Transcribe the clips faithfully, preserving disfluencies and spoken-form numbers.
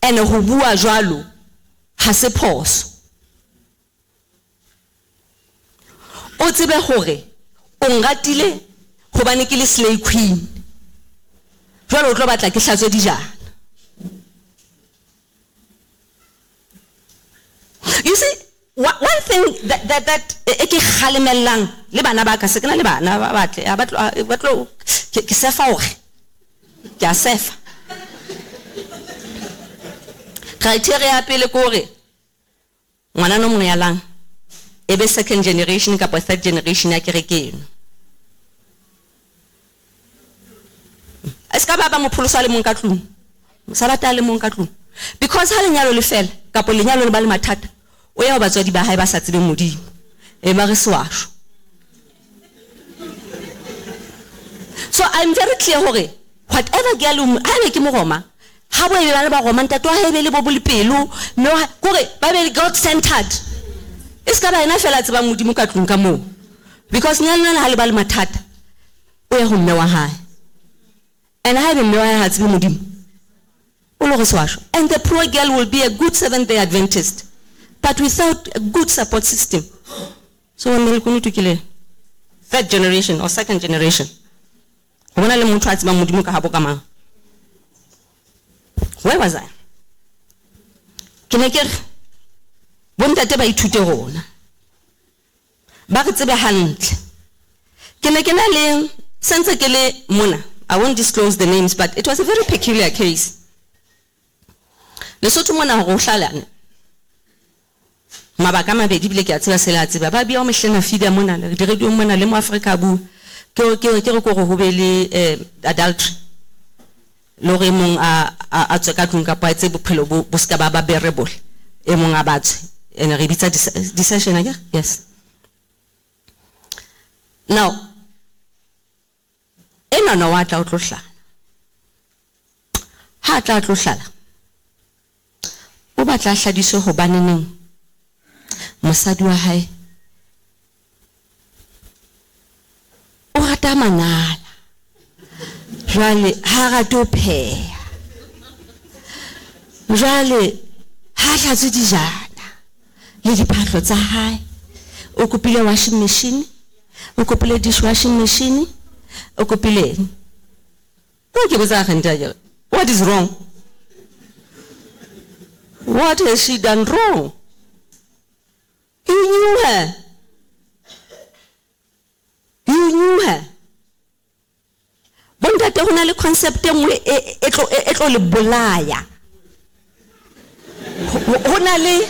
Ene ho bua jwalo ha se phoso. O tsebe hore o nratile hobane ke le slay queen. Jwale o tlo batla ke hlatswe dijana. You see, one thing that, that, that e ke kgalemellang le bana ba ka, se ke na le bana ba batle, ba tlo, ba tlo, ke, ke sefa hore, ke a sefa. Criteria ya pele ke hore, ngwana no mongwe ya lang, e be second generation kapa third generation ya kereke eno. A se ka ba ba mopholoso a le mong ka tlung, mosabata a le mong ka tlung. Because ha lenyalo le fela, kapa lenyalo le ba le mathata, o ya ho batswadi ba hae ba sa tsebeng Modimo. E ba re sewasho. So I'm very clear hore whatever girl o, ha ebe ke Moroma, ha bo ebe ba le ba Roma, ntate wa hae be le bo bolepelo, mme wa, kore ba be God centered. E se ka ba yena fela a tsebang Modimo ka tlung ka moo. Because nyalo ha le ba le mathata, o ya ho mme wa hae. And ha ebe mme wa hae ha tsebe Modimo, o lo re sewasho. And the poor girl will be a good Seventh-day Adventist, but without a good support system. So when le kunutu ke le third generation or second generation, ho bona le motho a tsebang Modimo ka habo ka mang. Where was I? Ke ne ke re bontate ba ithute rona, ba re tsebe hantle. Ke ne ke na le sentse ke le mona, I won't disclose the names, but it was a very peculiar case. Lesotho mona hore o hlalane mabaka a mabedi, ebile ke a tseba se le a tseba. Ba bia o mehlena fida mona, le di-radio mona, le mo Afrika bua. Ke, ke, ke re ke hore ho be le, eh, adultery. Le hore e mong a, a, a tswe ka tlung kapa a etse bophelo bo, bo ska ba ba bearable. E mong a ba tswe. Ene re bitsa dis-, dissension, akere? Yes. Now, enwa no wa tla o tlo hlala. Ha tla tlo hlala, o batla a hladiswe hobaneneng mosadi wa hae o rata manala. Jwale ha rate ho pheha. Jwale ha hlatswe dijana le diphahlo tsa hae. O kopile washing machine, o kopile dishwashing machine, o kopile eng? Ko ke botsa agente ya kere, what is wrong? What has she done wrong? You knew her. You knew her. Bontate ho na le concept e nngwe e, e tlo, e, e tlo le bolaya. Ho na le,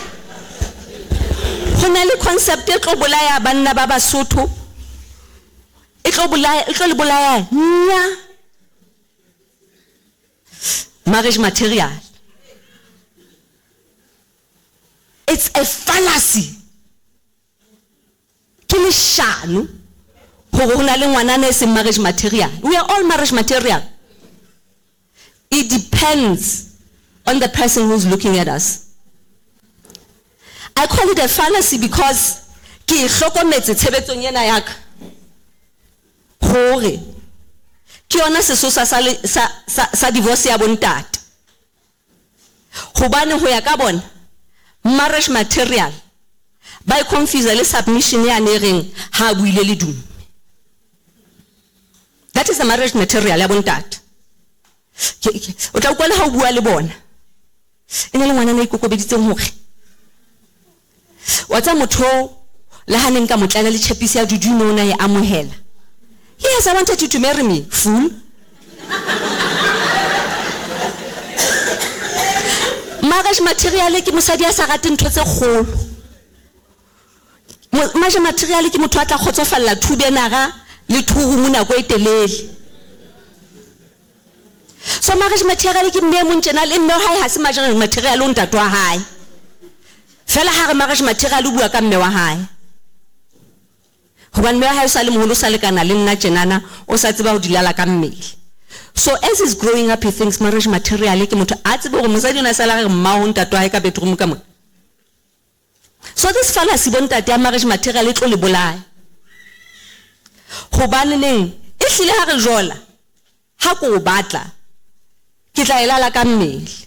ho na le concept e tlo bolaya banna ba Basotho. E tlo bolaya, e tlo le bolaya nya. Marriage material. It's a fallacy. Ke leshano hore ho na le ngwanana e seng marriage material. We are all marriage material. It depends on the person who's looking at us. I call it a fallacy because ke e hlokometse tshebetsong ena ya ka hore ke yona sesosa sa le-, sa, sa, sa divorce ya bontate. Hobane ho ya ka bona marriage material ba e confuse le submission ya ne reng ha buile le dume. That is the marriage material ya bontate. Ke, ke, o tla utlwa le ha o bua le bona. E ne le ngwana a ikokobeditseng hore wa tsa motho le ha ne nka mo tlela le tshepisi ya dudu no na e amohela. Yes, I wanted you to marry me, fool. Marriage material ke mosadi a sa rateng ntho tse kgolo. Marriage material ke motho a tla kgotsofalla two benara le two room nako e telele. So marriage material ke mme e mong tjena le mme wa hae ha se marriage material o ntate wa hae. Fela ha re marriage material o bua ka mme wa hae. Hobane mme wa hae o sa le moholo, o sa lekana le nna tjenana, o sa tseba ho dilala ka mmele. So as he's growing up, he thinks marriage material ke motho a tsebe hore mosadi o ne a sala re mma ho ntate wa hae ka bedroom ka mona. So this fallacy bontate ya marriage material e tlo le bolaya. Hobane neng e hlile ha re jola, ha ko o batla, ke tla e lala ka mmele.